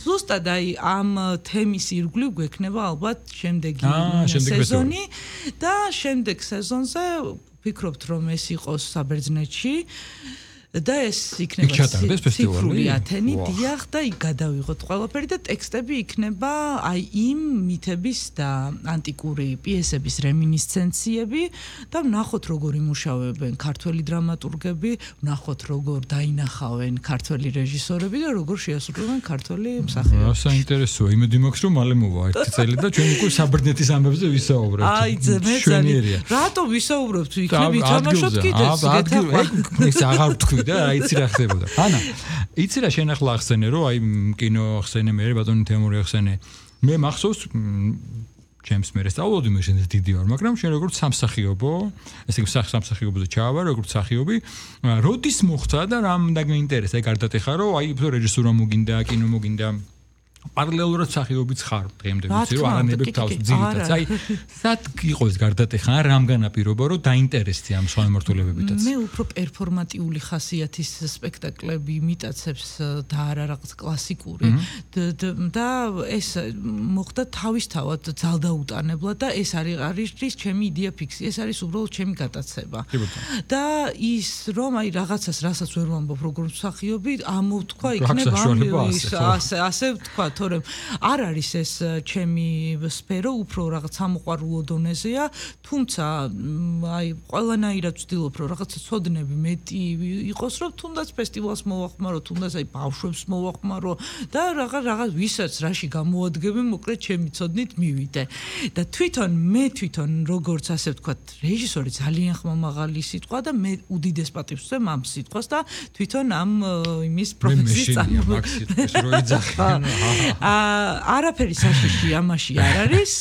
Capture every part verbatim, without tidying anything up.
ზუსტად აი ამ თემის ირგვლივ გვექნება ალბათ შემდეგი სეზონი და შემდეგ სეზონზე ვფიქრობთ რომ ეს იყოს საბერძნეთში და ეს იქნება ციფრული ათენი დიახ და იქ გადავიღოთ ყველაფერი და ტექსტები იქნება აი იმ მითების და ანტიკური პიესების რემინისცენციები და ვნახოთ როგორ იმუშავებენ ქართველი დრამატურგები, ვნახოთ როგორ დაინახავენ ქართველი რეჟისორები და როგორ შეასრულებენ ქართველი მსახიობები. რა საინტერესოა, იმედი მაქვს რომ მალე მოვა ერთი წელი და ჩვენ უკვე საბერძნეთის ამბებზე ვისაუბრებთ. აი ძმე ძალიან. რატო ვისაუბრებთ? იქნებ ითამაშოთ კიდეც. ეს აღარ ვთქვი და იცი რა ხდებოდა. ანა, იცი რა შენ ახლა ახსენე რომ აი კინო ახსენე მე ბატონი თემური ახსენე. მე მახსოვს ჩემს მე სწავლობდი მე შენ დიდი ვარ, მაგრამ შენ როგორც სამსახიობო, ესე იგი სამსახიობოზე ჩაავარ, როგორც მსახიობი, როდის მოხდა და რამ დაგინტერესა, ეგ არ დათეხა რომ აი რეჟისურა მოგინდა, კინო მოგინდა პარალელურად მსახიობიც ხარ დღემდე ვიცი რომ არანებებ თავს ძირითადად აი სად იყო ეს გარდატეხა რამ განაპირობა რომ დაინტერესდი ამ სხვა მიმართულებებითაც მე უფრო პერფორმატიული ხასიათის სპექტაკლები მიტაცებს და არა რაღაც კლასიკური და ეს მოხდა თავისთავად ძალდაუტანებლად და ეს არის არის ჩემი იდეა ფიქსი ეს არის უბრალოდ ჩემი გატაცება და ის რომ აი რაღაცას რასაც ვერ ვამბობ როგორ მსახიობი ამოვთქვა იქნება ასე ასე ვთქვა თორემ არ არის ეს ჩემი სფერო უფრო რაღაც ამოყვარულო დონეზეა თუმცა აი ყველანაირად ვცდილობ რომ რაღაცა ცოდნები მეტი იყოს რომ თუნდაც ფესტივალს მოვახმარო თუნდაც აი ბავშვებს მოვახმარო და რაღაც რაღაც ვისაც რაში გამოადგები მოკლედ ჩემი ცოდნით მივიდე და თვითონ მე თვითონ როგორც ასე ვთქვათ რეჟისორი ძალიან ხმამაღალი სიტყვა და მე უდიდეს პატივს ვცემ ამ სიტყვას და თვითონ ამ იმის პროფესიის წარმოება არაფერი საშიში ამაში არ არის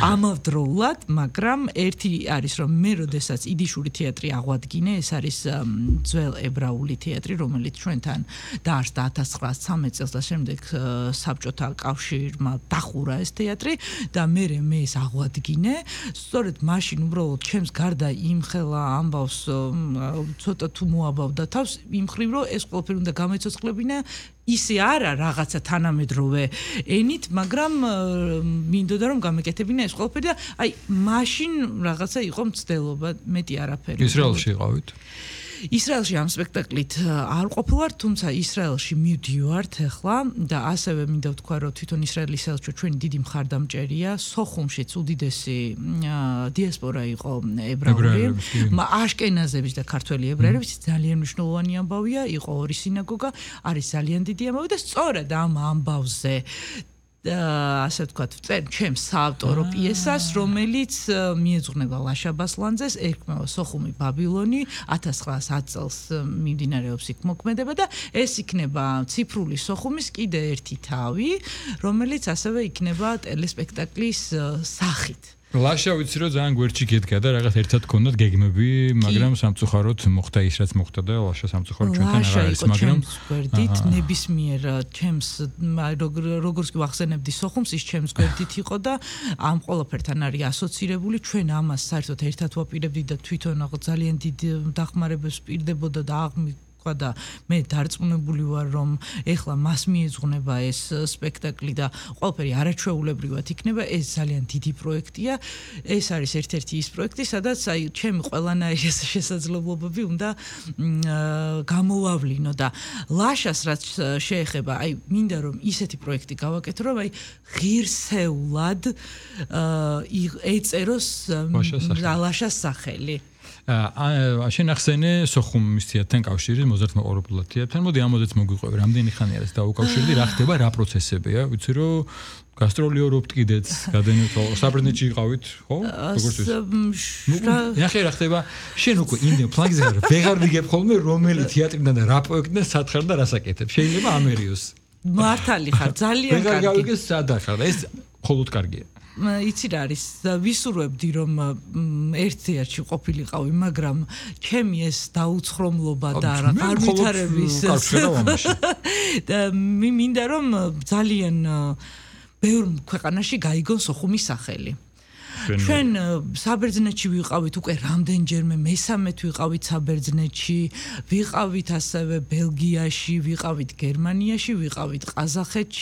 ამავდროულად მაგრამ ერთი არის რომ მე როდესაც იდიშური თეატრი აღვადგინე ეს არის ძველ ებრაული თეატრი რომელიც ჩვენთან დაარსდა ათას ცხრაასი წელს და შემდეგ საბჭოთა კავშირმა დახურა ეს თეატრი და მე მე ეს აღვადგინე სწორედ მაშინ უბრალოდ ჩემს გარდა იმხელა ამბავს ცოტა თუ მოაბავდა თავს იმ ხრივ რომ ეს ყველაფერი უნდა გამეცოცხლებინა ისე არა რაღაცა თანამედროვე ენით, მაგრამ მინდოდა რომ გამეკეთებინა ეს ყველაფერი და აი მაშინ რაღაცა იყო მცდელობა, მეტი არაფერი. ისრაელში იყავით? ისრაელში ამ სპექტაკლით არ ყოფილვარ, თუმცა ისრაელში მივდივართ ახლა და ასევე მინდა ვთქვა, რომ თვითონ ისრაელის საელჩო ჩვენი დიდი მხარდამჭერია, სოხუმშიც უდიდესი დიასპორა იყო ებრაული, აშკენაზების და ქართველი ებრაელების ძალიან მნიშვნელოვანი ამბავია, იყო ორი სინაგოგა, არის ძალიან დიდი ამბავი და სწორედ ამ ამბავზე ასე ვთქვათ, წერ ჩემს საავტორო პიესას, რომელიც მიეძღვნება ლაშა ბასლანძეს, ერქმევა სოხუმი ბაბილონი, ათას ცხრაასი წელს მიმდინარეობს იქ მოქმედება და ეს იქნება ციფრული სოხუმის კიდე ერთი თავი, რომელიც ასევე იქნება ტელესპექტაკლის სახით. ლაშა ვიცი რომ ძალიან გვერდში გედგა და რაღაც ერთად გქონდათ გეგმები, მაგრამ სამწუხაროდ მოხდა ის რაც მოხდა და ლაშა სამწუხაროდ ჩვენთან არ არის, მაგრამ გვერდით ნებისმიერ ჩემს როგორც კი ვახსენებდი სოხუმს ის ჩემს გვერდით იყო და ამ ყველაფერთან არის ასოცირებული, ჩვენ ამას საერთოდ ერთად ვაპირებდი და თვითონ ძალიან დიდ დახმარებას პირდებოდა და აღმი და მე დარწმუნებული ვარ რომ ეხლა მას მიეძღვნება ეს სპექტაკლი და ყველაფერი არაჩვეულებრივად იქნება ეს ძალიან დიდი პროექტია ეს არის ერთ-ერთი ის პროექტი სადაც აი ჩემი ყველანაირი შესაძლებლობები უნდა გამოვავლინო და ლაშას რაც შეეხება აი მინდა რომ ისეთი პროექტი გავაკეთო რომ აი ღირსეულად ეწეროს ლაშას სახელი აა შენ ახსენე სოხუმის თეატრთან კავშირი მოზარდმოყურებლად თეატრთან მოდი ამოდეც მოგვიყვები რამდენი ხანი არის დაუკავშირდი რა ხდება რა პროცესებია ვიცი რომ გასტროლიორობთ კიდეც გადანეთო საბერძნეთში იყავით ხო როგორც ის ნახე რა ხდება შენ უკვე იმდენ ფლანგზე ვეღარ ვიგებ ხოლმე რომელი თეატრიდან და რა პროექტიდან სათხარ და რასაკეთებ შეიძლება ამერიოს მართალი ხარ ძალიან კარგი ვეღარ გავიგე სადახარ ეს მხოლოდ კარგია იცი რა არის ვისურვებდი რომ ერთ თეატრში ყოფილიყავი მაგრამ ჩემი ეს დაუცხრომლობა და არ ვითარების და მინდა რომ ძალიან ბევრ ქვეყანაში გაიგონ სოხუმის სახელი ჩვენ საბერძნეთში ვიყავით უკვე რამდენჯერმე მესამედ ვიყავით საბერძნეთში ვიყავით ასევე ბელგიაში ვიყავით გერმანიაში ვიყავით ყაზახეთში